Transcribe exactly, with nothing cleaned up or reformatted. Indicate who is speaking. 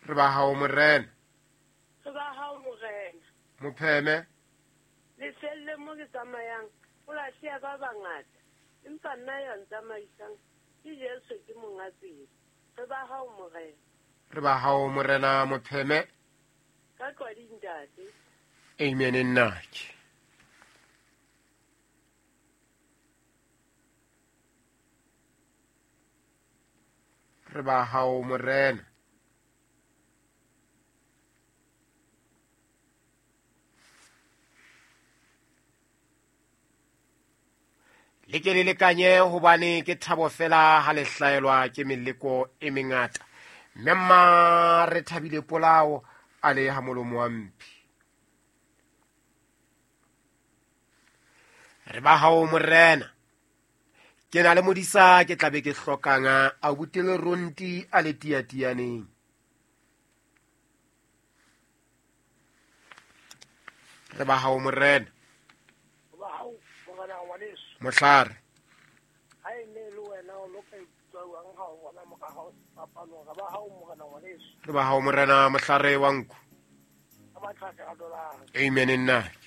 Speaker 1: Re ba hao morena.
Speaker 2: Re ba hao morena.
Speaker 1: Mopheme.
Speaker 2: Lefelle mo ke tsamayang o lahleha ba bangata, empa nna ya ntsamaisang ke Jesu ke monga tsela. Re ba hao morena.
Speaker 1: Re ba hao morena mopheme.
Speaker 2: Ka tlwadi ntate.
Speaker 1: Amen nnake. Re ba hao morena. Le ke le lekanye hobane ke thabo fela ha le hlaelwa ke meleko e mengata. Mme mma re thabile polao a le ha molomo wa mphi. Re ba hao morena. Ke na le modisa ke tlabe ke hlokanga a butele ronti a le tiatianeng. Re ba hao morena.
Speaker 3: Ba hao morena ngwaneso.
Speaker 1: Mohlare.
Speaker 3: Ha e ne le wena o loka itswang ha o bona mora hao sefapanong. Re ba hao morena ngwaneso.
Speaker 1: Re ba hao morena mohlare wa nku.
Speaker 3: Ka matlhaka a dolara.
Speaker 1: Amen nnake.